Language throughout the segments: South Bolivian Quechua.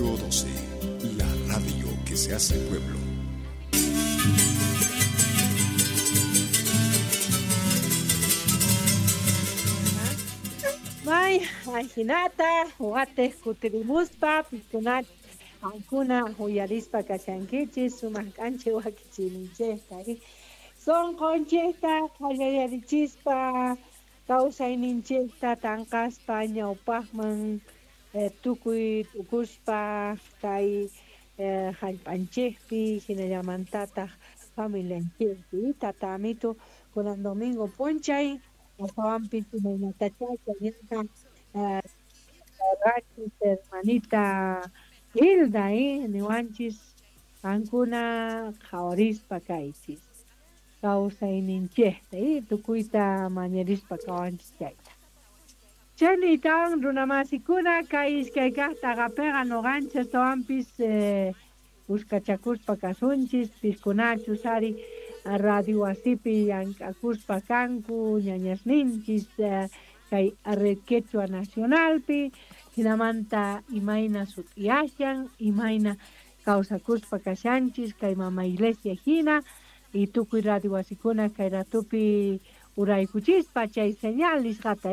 Radio 12, la radio que se hace pueblo. May ajinata watej kutirimuspa pikunach qankuna uyarispa kashankichis sumaq k'anchay wakichiyninchejta sonqonchejta qallarichispa kawsayninchejta tanqaspa ñawpaqman tukuy tukuspa kay jallp'anchejpi hinallamantataq familianchejpi tata amito kunan domingo p'unchay astawanpis imaynatachá chayñata rachis hermanita Hilda niwanchis qankuna qhawarispa kaychis kawsayninchejta tukuyta mañarispa kawanchis chayta. Chaynitawan runamasikuna kay iskay kaq t'aqapiqa nuqanchis astawanpis kuskachakuspa kasunchis piskunachus ari radio wasipi llank'akuspa kanku ñañasninchis kay Red Quechua Nacionalpi hinamanta imayna sut'iyashan imayna kawsakuspa kashanchis kay mama iglesia hina y tukuy radio wasikuna kay ratupi uraykuchispa chay señal nisqata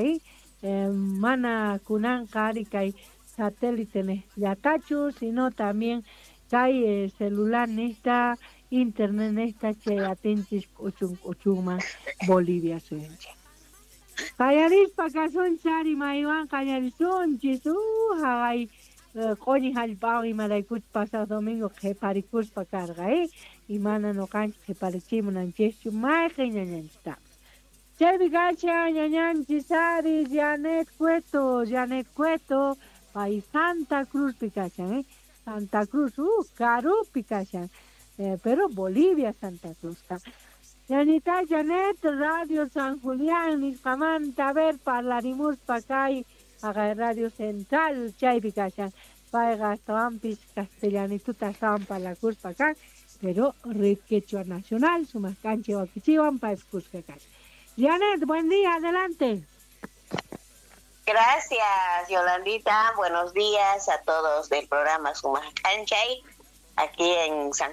mana kunanqa ari kay satélite llatachu sino también kay celular nista internet nista chay atinchis k'uchun k'uchunman Bolivia suyunchik. Qallarispa kasunchis ari maywan qallarisunchis haqay q'uñi jallp'awan imaraykuchus pasaq domingo qhiparikuspa karqa y mana nuqanchis qhiparichimunanchikchu mayqin ñañanchistapas. Chaypi kashan ñañanchis ari Janet Cueto, Janet Cueto pay Santa Cruzpi kashan Santa Cruz karupi kashan pero Bolivia Santa Cruzqa. Ñañita Janet, Radio San Julián nisqamanta a ver parlarimuspa kay haqay Radio Central chaypi kashan payqa astawanpis castellanituta astawan parlakuspa kan pero Red Quechua Nacional sumaq k'anchay wakichiwan paypis kuska kashan. Janet, buen día, adelante. Gracias, Yolandita. Buenos días a todos del programa Sumaq K'anchay, aquí en San